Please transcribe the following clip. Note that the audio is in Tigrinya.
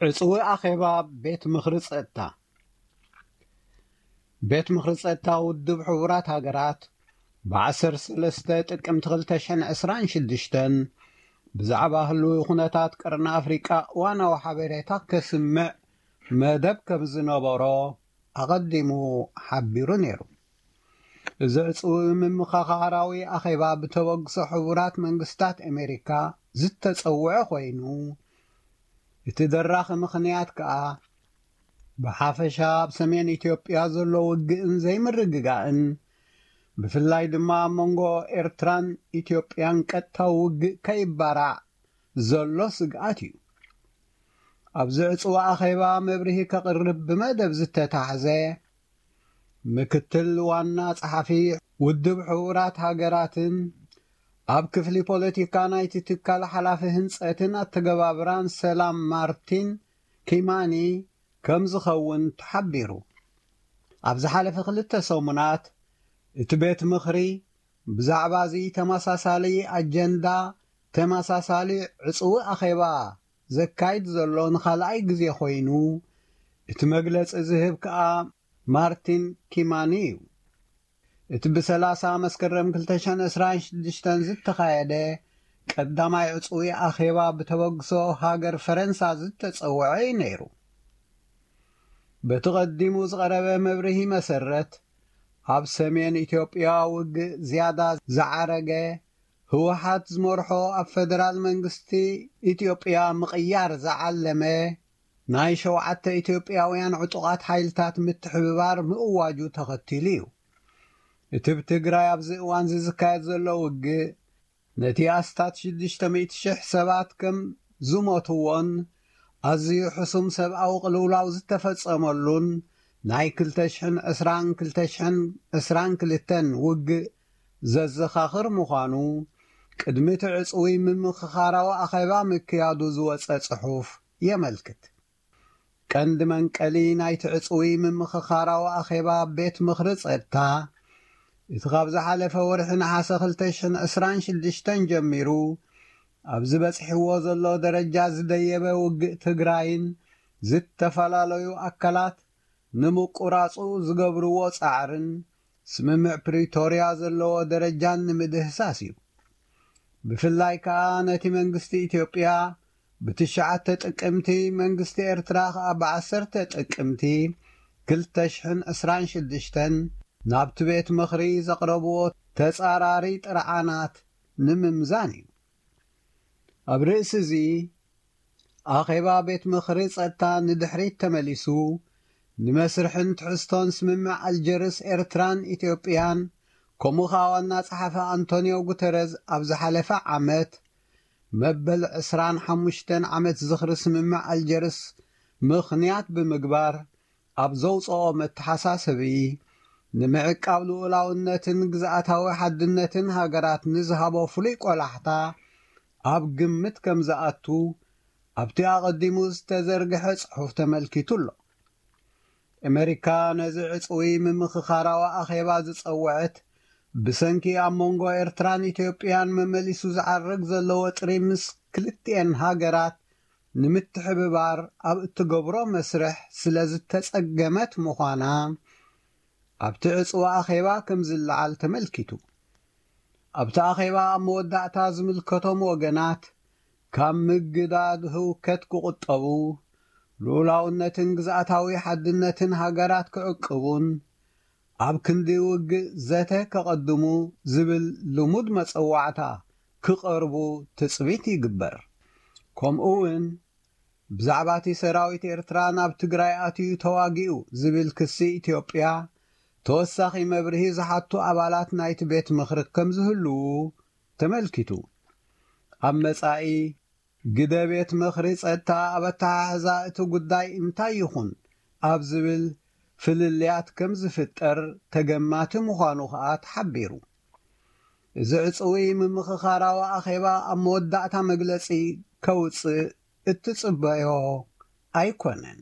ዕፅዊ ኣኼባ ቤት ምኽሪ ጸጥታ። ቤት ምኽሪ ጸጥታ ውድብ ሕቡራት ሃገራት ብ13 ጥቅምቲ ክልተ ሽሕን ዕስራን ሽዱሽተን ብዛዕባ ህልዊ ኩነታት ቀርኒ ኣፍሪቃ እዋናዊ ሓበሬታ ከስምዕ መደብ ከም ዝነበሮ ኣቐዲሙ ሓቢሩ ነይሩ። እዚ ዕፅዊ ምምኽኻራዊ ኣኼባ ብተበግሶ ሕቡራት መንግስታት ኣሜሪካ ዝተጸውዐ ኮይኑ፣ እቲ ደራኺ ምኽንያት ከኣ ብሓፈሻ ኣብ ሰሜን ኢትዮጵያ ዘሎ ውግእን ዘይምርግጋእን፣ ብፍላይ ድማ ኣብ መንጎ ኤርትራን ኢትዮጵያን ቀጥታዊ ውግእ ከይባራዕ ዘሎ ስግኣት እዩ። ኣብዚ ዕፅዊ ኣኼባ መብርሂ ከቕርብ ብመደብ ዝተታሕዘ ምክትል ዋና ጸሓፊ ውድብ ሕቡራት ሃገራትን ኣብ ክፍሊ ፖለቲካ ናይቲ ትካል ሓላፊ ህንጸትን ኣተገባብራን ሰላም ማርቲን ኪማኒ ከም ዝኸውን ተሓቢሩ። ኣብ ዝሓለፈ ክልተ ሰሙናት እቲ ቤት ምኽሪ ብዛዕባ እዚ ተመሳሳሊ ኣጀንዳ ተመሳሳሊ ዕፅዊ ኣኼባ ዘካይድ ዘሎ ንኻልኣይ ግዜ ኮይኑ፣ እቲ መግለጺ ዝህብ ከኣ ማርቲን ኪማኒ እዩ። እቲ ብ30 መስከረም ክልተ ሽሕን ዕስራን ሽዱሽተን ዝተኻየደ ቀዳማይ ዕፅዊ ኣኼባ ብተበግሶ ሃገር ፈረንሳ ዝተጸውዐ እዩ ነይሩ። በቲ ቀዲሙ ዝቐረበ መብርሂ መሰረት፣ ኣብ ሰሜን ኢትዮጵያ ውግእ ዝያዳ ዝዓረገ፣ ህወሓት ዝመርሖ ኣብ ፈደራል መንግስቲ ኢትዮጵያ ምቕያር ዝዓለመ ናይ ሸውዓተ ኢትዮጵያውያን ዕጡቓት ሓይልታት ምትሕብባር ምእዋጁ ተኸቲሉ እዩ። እቲ ብ ትግራይ ኣብዚ እዋን እዚ ዝካየድ ዘሎ ውግእ፣ ነቲ ኣስታት ሽዱሽተ ሚእቲ ሽሕ ሰባት ከም ዝሞትዎን ኣዝዩ ሕሱም ሰብኣዊ ቅልውላው ዝተፈጸመሉን ናይ ክልተ ሽሕን ዕስራን ክልተ ሽሕን ዕስራን ክልተን ውግእ ዘዘኻኽር ምዃኑ፣ ቅድሚ እቲ ዕጽዊ ምምኽኻራዊ ኣኼባ ምክያዱ ዝወጸ ጽሑፍ የመልክት። ቀንዲ መንቀሊ ናይቲ ዕጽዊ ምምኽኻራዊ ኣኼባ ቤት ምኽሪ ጸጥታ፣ እቲ ካብ ዝሓለፈ ወርሒ ነሓሰ ክልተ ሽሕን ዕስራን ሽዱሽተን ጀሚሩ ኣብዚ በጺሕዎ ዘሎ ደረጃ ዝደየበ ውግእ ትግራይን ዝተፈላለዩ ኣካላት ንምቁራጹ ዝገብርዎ ጻዕርን ስምምዕ ፕሪቶርያ ዘለዎ ደረጃን ንምድህሳስ እዩ። ብፍላይ ከኣ ነቲ መንግስቲ ኢትዮጵያ ብትሽዓተ ጥቅምቲ፣ መንግስቲ ኤርትራ ከኣ ብ10 ጥቅምቲ ክልተ ሽሕን ዕስራን ሽዱሽተን ናብቲ ቤት ምኽሪ ዘቕረብዎ ተጻራሪ ጥርዓናት ንምምዛን እዩ። ኣብ ርእሲ እዚ፣ ኣኼባ ቤት ምኽሪ ጸጥታ ንድሕሪት ተመሊሱ፣ ንመስርሕን ትሕዝቶን ስምምዕ ኣልጀርስ ኤርትራን ኢትዮጵያን፣ ከምኡ ኸኣ ዋና ጸሓፊ ኣንቶኒዮ ጉተረዝ ኣብ ዝሓለፈ ዓመት መበል ዕስራን ሓሙሽተን ዓመት ዝኽሪ ስምምዕ ኣልጀርስ ምኽንያት ብምግባር ኣብ ዘውጽኦ መተሓሳሰቢ፣ ንምዕቃብ ልኡላውነትን ግዝኣታዊ ሓድነትን ሃገራት ንዝሃቦ ፍሉይ ቆላሕታ ኣብ ግምት ከም ዝኣቱ ኣብቲ ኣቐዲሙ ዝተዘርግሐ ጽሑፍ ተመልኪቱ ኣሎ። ኣመሪካ ነዚ ዕጽዊ ምምኽኻራዊ ኣኼባ ዝጸውዐት፣ ብሰንኪ ኣብ መንጎ ኤርትራን ኢትዮጵያን መመሊሱ ዝዓርግ ዘሎ ወጥሪ ምስ ክልቲኤን ሃገራት ንምትሕብባር ኣብ እትገብሮ መስርሕ ስለ ዝተጸገመት ምዃና ኣብቲ ዕጽዊ ኣኼባ ከም ዝለዓል ተመልኪቱ። ኣብቲ ኣኼባ ኣብ መወዳእታ ዝምልከቶም ወገናት ካብ ምግዳድ ህውከት ክቑጠቡ፣ ልኡላውነትን ግዝኣታዊ ሓድነትን ሃገራት ክዕቅቡን ኣብ ክንዲ ውግእ ዘተ ከቐድሙ ዝብል ልሙድ መጸዋዕታ ክቐርቡ ትጽቢት ይግበር። ከምኡ እውን ብዛዕባ እቲ ሰራዊት ኤርትራ ናብ ትግራይ ኣትዩ ተዋጊኡ ዝብል ክሲ ኢትዮጵያ ተወሳኺ መብርሂ ዝሓቱ ኣባላት ናይቲ ቤት ምኽሪ ከም ዝህልዉ ተመልኪቱ። ኣብ መጻኢ ግደ ቤት ምኽሪ ጸጥታ ኣብ ኣተሓሕዛ እቲ ጉዳይ እንታይ ይኹን ኣብ ዝብል ፍልልያት ከም ዝፍጠር ተገማቲ ምዃኑ ከኣ ተሓቢሩ። እዚ ዕጽዊ ምምኽኻራዊ ኣኼባ ኣብ መወዳእታ መግለጺ ከውጽእ እትጽበዮ ኣይኮነን።